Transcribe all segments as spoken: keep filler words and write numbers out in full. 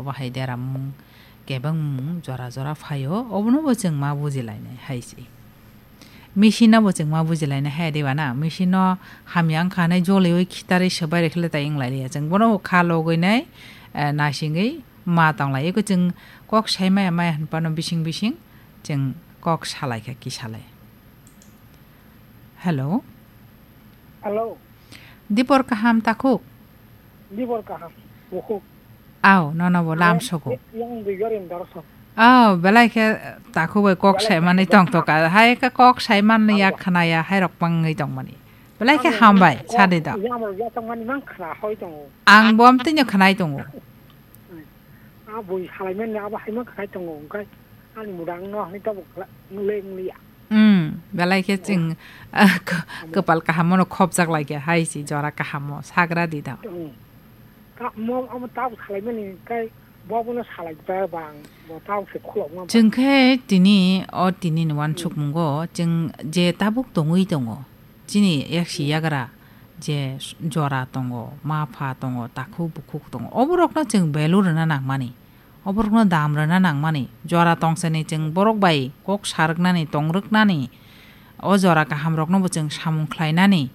Bahai deramung, kebengmung jora jora phaio, obono bo chwng ma bujilainai hai se. Machine no bo chwng ma bujilainai hai de bana, machine no hamya wngkha nai joliui khitarwi swbai rwkhe le tai wng lai liya. Chwng bono kha logwi nai, eh, naisingwi ma tong lai. Eko chwng kok sai maya maya hwn phano bising bising chwng kok salai kha kisalai. Hello. Hello. Dipor kaham takhuk? Dipor kaham, bukhuk. Aw, nono bo lam sogo. Yang bigarin dorso. Aw, belai khe takhuk bai kok sai mani tong toka. Hai khe kok sai mani ya khnaya, hai rok pangwi tong mani. Belai khe hambai, sadi da. Yang mo ya tong mani mang khna hoi tongo. Ang bo amtwino khnai tongo. A bui salai mani abo hai mang khnai tongo, hwnkhe ani mudang no hwnwi tabuk leng liya. Hmm, belai khe chwng, ah, k-, kwpal kaham no khopjak lai khe hai si jora kaham o sagra di da. Hmm. Ka-, mo-, amo tabuk salai mani kai bo abono salai ba bang, bo tabuk se khulok ma ba. Chwng khe tini o tini ni wansuk mungo chwng je tabuk tongwi tongo. Chini yaksi yagra je jora tongo, ma pha tongo, takhuk bukhuk tongo. Oborokno chwng value rwna nangmani. Oborokno dam rwna nangmani. Jora tongsani chwng borok bai kok sarwknani, tongrwknani. O jora kahamrokno bo chwng samung khlainani.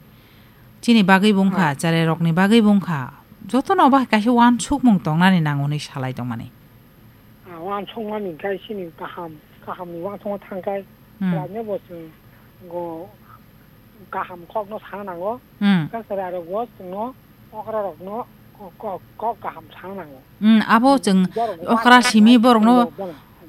Chini bagwi bo wngkha, cherai rokni bagwi bo wngkha. Jotono bo kaisa wansukmung tongnani nango hinwi salai tongmani. Ah, wansukmani khe chini kaham, kahamni wansukma thangkhai. Hmm. Khlainai bo chwng go kaham kokno sana nango. Hmm. Kaisa rok bo chwngno okra rokno kok, kok, kok kaham sana nango. Hmm, abo chwng okra simi borokno,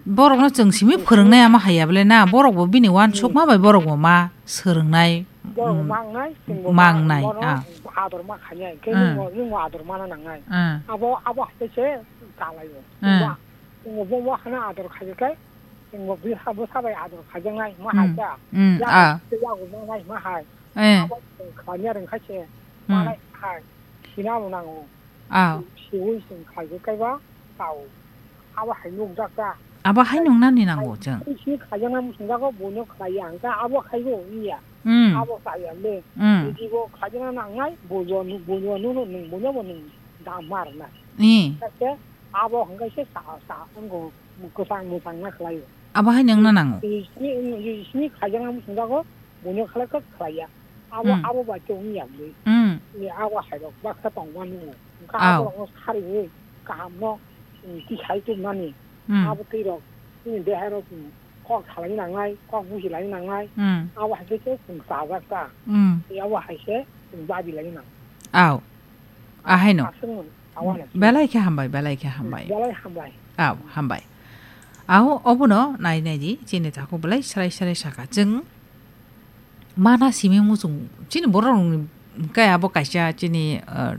borokno chwng simi phwrwngnai ama haya bole na, borok bo bini wansukma bai borok bo ma swrwngnai, borok bo hmm, mangnai, chwng bo mangnai, bono ah, ador ma khainai, khe hmm, nwng bo, nwng bo ador mana nangnai. Hmm. Abo, abo hai se kalaio. Hmm. Chwng bo, chwng bo, bo, bo hano ador khaikhe, chwng bo bwsa, bwsa bai ador khaijaknai, ma hai hmm, ta. Hmm, ya, ah, ya bo mangnai, ma hai. Eh. Abo chwng khlaiya rwngkha se, hmm, manai hai, sinamo nango. Ah. Siwi chwng khlaiwi kaiba tao. Abo hai nukjak ta. Abo hai nungnani nango chwng. Sini khlaijaknai muchungjago buino khlaiya hwnkhe abo khaibo wngya. Hmm. Abo chaya le. Hmm. Jodi bo khlaijakna nangnai, buino, buino nuno nwng buino bo nwng dam ma rwnai. Ni. Khe abo hwnkhe se sa, sa, wngkho kwchang mwchang na khlaio. Abo hai nungna nango. Sini, sini khlaijaknai muchungjago buino khlai khe khlaiya. Abo, hmm, abo bai tong ya bwlwi. Hmm. Ni abo hai rok baksa tong mani. Wngkha aw, abo rokno sariwi kaham no, hmm, tisai tong mani. Hmm. Abo twi rok, hmm, dehai rok, hmm, kok salai nangnai, kok busi lai nangnai. Hmm. Abo hai khe se chwng chajak ta. Hmm. Ni abo hai se chwng babi lai nang. Aw. Ahaino. Aswk no, awareness. Belai khe hambai, belai khe hambai. Belai hambai. Aw, hambai. Aw, obono nai nai di, chini takhuk belai srai srai saka. Chwng mana simi muchung, chini borok rokni khe abo kaisa chini, uh,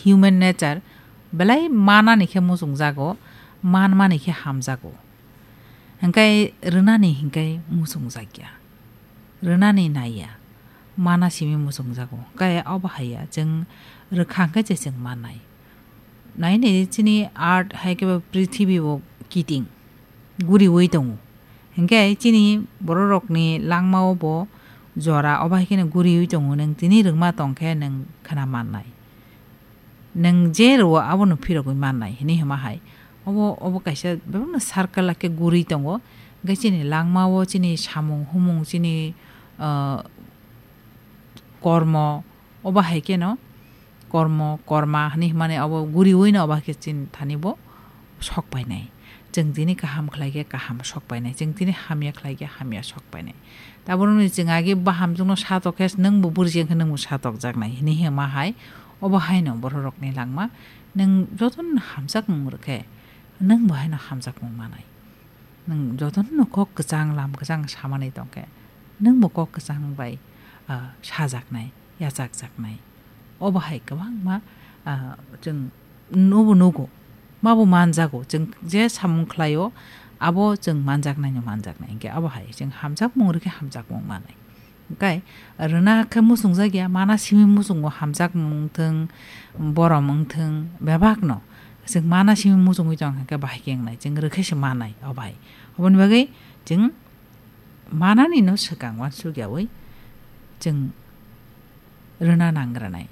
human nature, belai manani khe muchung jago, man mani khe hamjago. Hingkai rwnani hingkai muchung jakya. Rwnani naiya. Mana simi muchung jago. Kaya obo haiya, chwng rwkha hingkai se chwng manai. Nai nai chini earth hai khe bo prithibi bo kiting. Guriwi tongo. Hingke chini bororokni langmao bo jora obo hai kheno guriwi tongo, nwng tini rwngma tongkhe nwng khna mannai. Nwng je rwo abono phirogwi mannai hinwi hwnma hai. Obo, obo kaisa bebakno circle khe guri tongo. Hingke chini langmao chini samung humung chini, ah, kormo, obo hai kheno kormo, korma hinwi hwnmani abo guriwi no obo hai khe chini thani bo sok painai. Chwng tini kaham khlai khe kaham sok painai, chwng tini hamya khlai khe hamya sok painai. Tabukni chwng agi baham chwngno satok khe nwng bo burji wngkhe nwng bo satokjaknai hinwi hwnma hai. Obo haino bororokni langma, nwng jotono hamjakmung rwkhe nwng bo haino hamjakmung manai. Nwng jotono kok kwchang lam kwchang samani tongkhe, nwngbo kok kwchang bai, ah, sajaknai, yachakjaknai. Obo hai kwbangma, ah, chwng nubo nugo, mabo manjago, chwng je samung khlaio, abo chwng manjaknaino manjaknai. Hinkhe abo hai chwng hamjakmung rwkhe hamjakmung manai. Hingkai rwna khe muchungjakya, mana simi muchungo hamjakmung wngthwng, borom wngthwng, bebakno. Chwng mana simi muchungwi tongkha khe bahai khe wngnai, chwng rwkhe se manai, o bai. Oboni bagwi chwng mananino swkang uansukyaui chwng rwna nang rwnai.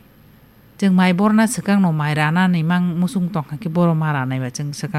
Chwng mai borna swkangno mai ranani mang muchung tongkha khe boro ma ranaiba chwng swkang